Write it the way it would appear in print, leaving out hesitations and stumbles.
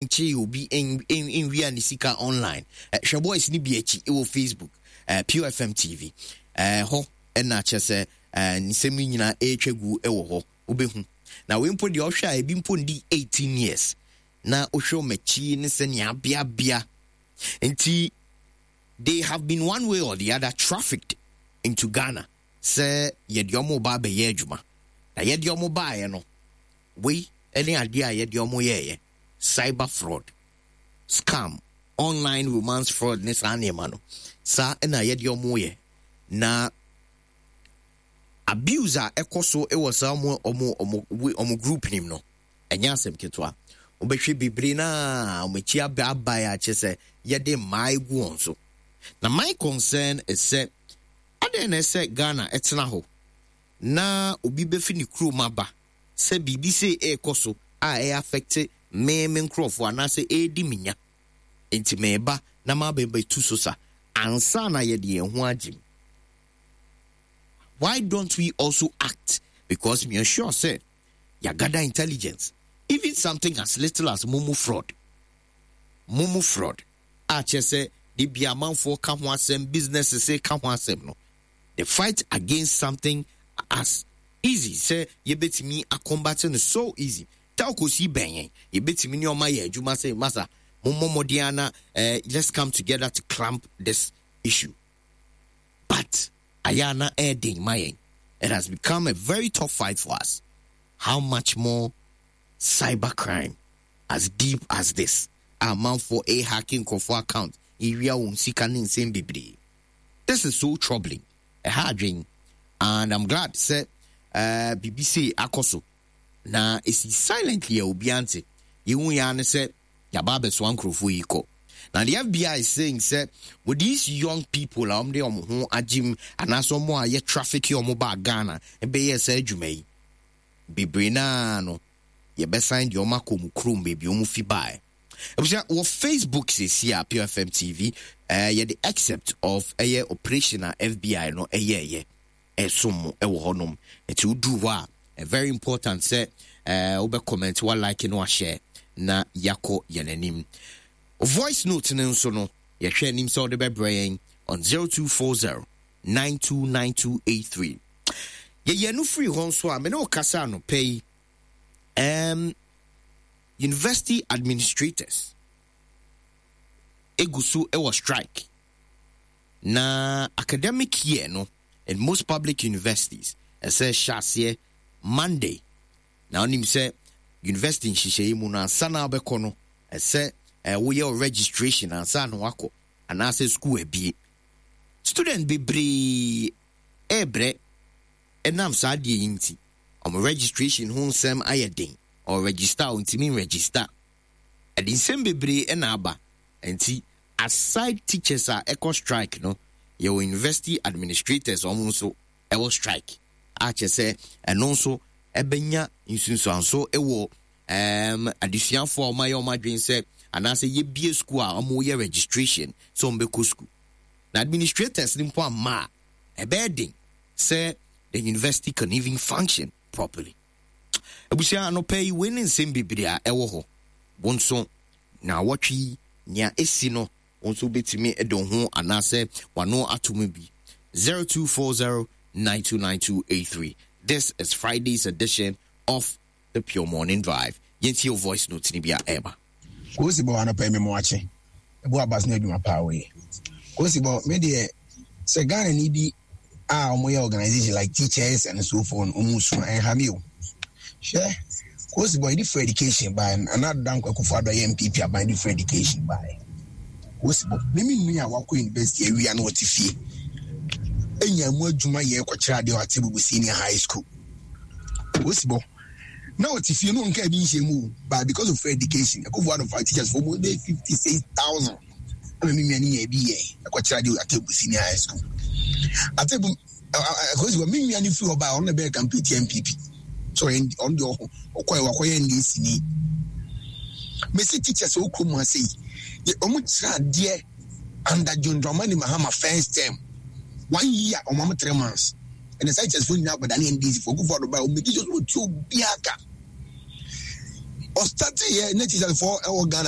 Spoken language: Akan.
Nkyee obi nwia ne sika online. Hwɛ boys no bi akyi wɔ Facebook, Pure FM TV. Hɔ na kyerɛ sɛ nsɛm yi nyinaa ɛretwa gu wɔ hɔ. Wobɛhu. Na wei mpo deɛ ɔhwɛ a ebi mpo ndi 18 years. Na wohwɛ wɔn akyi ne sɛnea abeabea. Nti they have been one way or the other trafficked into Ghana sɛ yɛde wɔn ba abɛyɛ adwuma. Na yɛde wɔn baeɛ no, Wei ne adeɛ a yɛde wɔn yɛeɛ, cyber fraud, scam, online romance fraud ne saa nneɛma no. Saa na yɛde wɔn yɛ. Na abuse a ɛkɔ so wɔ saa wɔn wɔn wɔn wɔn group nim no, ɛnyɛ asɛm ketewa. Wobɛhwɛ bebree na wɔn akyi aba abae a kyerɛ sɛ yɛde mmaa egu wɔn so. Na my concern is sɛ adɛn na ɛsɛ Ghana ɛtena hɔ na obi bɛfi ne kurom aba sɛ biribi sei ɛrekɔ so a ɛyɛ affect me me nkurɔfoɔ anaasɛ ɛredi me nya nti meba na mabɛbɛtu so sa ansa na yɛde yɛn ho agye mu. Why don't we also act? Because me sure sɛ yɛagada intelligence even something as little as momo fraud momo fraud a kyerɛ sɛ de bia amanfoɔ ka ho asɛm businesses ka ho asɛm no The fight against something as easy sɛ yɛbɛtumi a combat no so easy. Telcos yi bɛn yɛn, yɛbɛtumi ne ɔma yɛ adwuma sɛ masa mommɔ mmɔden ara na eh, let's come together to clamp this issue. But ayɛ a na ɛyɛ ma yɛn. It has become a very tough fight for us. How much more cyber crime as deep as this? Amanfoɔ ɛhacking nkurɔfoɔ account, ɛwia wɔn sika ne nsɛm bebree. This is so troubling, ɛha adwen and I'm glad sɛ eh, biribi sei akɔ so na ɛsi silently a obiara nte. Yɛhu yɛ ara ne sɛ yɛaba abɛsoa nkurɔfoɔ yi kɔ. Na the FBI is saying sɛ with these young people a wɔde wɔn ho agyem anaasɛ wɔn a yɛ traffic wɔn baa Ghana bɛyɛɛ saa adwuma yi, bebree no ara no yɛbɛsan de wɔn akɔ wɔn kurom baabi wɔn fi baeɛ. Abusua wɔ Facebook sɛsi a Pure FM TV eh, yɛde except of ɛyɛ operation a FBI no ɛyɛɛyɛ ɛsom mo ɛwɔ hɔnom. Nti woduru hɔ a very important sɛ eh, wobɛ comment wa like no ahyɛ na yakɔ yɛn anim. Voice note no nso no yɛhwɛ anim sɛ wode bɛbrɛ yɛn on 0240 929283. Yɛyɛ no firi hɔ nso a me ne wo kasa anɔpɛ yi um, University administrators egu so wɔ strike na academic year no in most public universities ɛsɛ hyɛ aseɛ Monday na wonim sɛ university nhyehyɛeɛ mu no ansa na wobɛkɔ no ɛsɛ woyɛ registration ansa na wakɔ anaasɛ school abie student bebree ɛrebrɛ ɛnam saa adeɛ yi nti wɔn registration ho nsɛm ayɛ den Ɔregister a ɔntumi nregister. Ɛde nsɛm bebree na aba. Nti aside teachers a ɛkɔ strike no, yɛwɔ university administrators wɔn nso ɛwɔ strike a kyerɛ sɛ ɛno nso ɛbɛnya nsunsuanso wɔ um, adesuafoɔ a wɔayɛ wɔn adwene sɛ anaasɛ yɛbie school a wɔyɛ registration sɛ wɔbɛkɔ school. Na administrators no mpo amma a, ɛbɛyɛ den sɛ the university can even function properly. Abusua, anɔpa yi, wei ne nsɛm bebree a ɛwɔ hɔ. Wo nso, naawɔtwe yi, nea esi no, wo nso wobɛtumi de wo ho anaasɛ w'ano ato mu bi. 0240 929283. This is Friday's edition of the Pure Morning Drive. Yɛntie wo voice note no bi a ɛreba. Kosi bɔ anɔpa yi me moakye. Ɛbo abas ne adwuma paa woyɛ. Kosi bɔ me deɛ sɛ Ghana ni bi a wɔn yɛ organization like teachers and so forth wɔn su a ɛnha me o. Hwɛ Kosi bɔ yɛde free education bae Nana Addo Dankwa Akufo Addo yɛ NPP aban de free education bae. Kosi bɔ me me nua a wakɔ university awia na ɔte fie enya mu adwuma yɛ kɔkyerɛ adeɛ wɔ Atebubu Senior High School. Kosi bɔ na ɔte fie no nka ebi nhyɛ mu o but because of free education Akufo Addo fa teachers for mu bɛyɛ 56,000 ɛna me nua no nya ebi yɛ ɛkɔkyerɛ adeɛ Atebu Senior High School. Atebu ɛkɔsi hɔ me nua no firi hɔ baa ɔno na ɛbɛyɛ campaign tia NPP so ɔyɛ ɔno deɛ ɔho ɔkɔɛ wakɔyɛ NDC ni. Mesi teachers wɔ kurom ha sei wɔn kyerɛ adeɛ under John Dramani Mahama first term one year wɔn am 3 months ɛna saa teachers fo nyinaa akɔda ne NDC fo Akufo Addo baa wɔn make sure sɛ wɔtua obiara ka. Ɔstarteeɛ na teacherfoɔ ɛwɔ Ghana.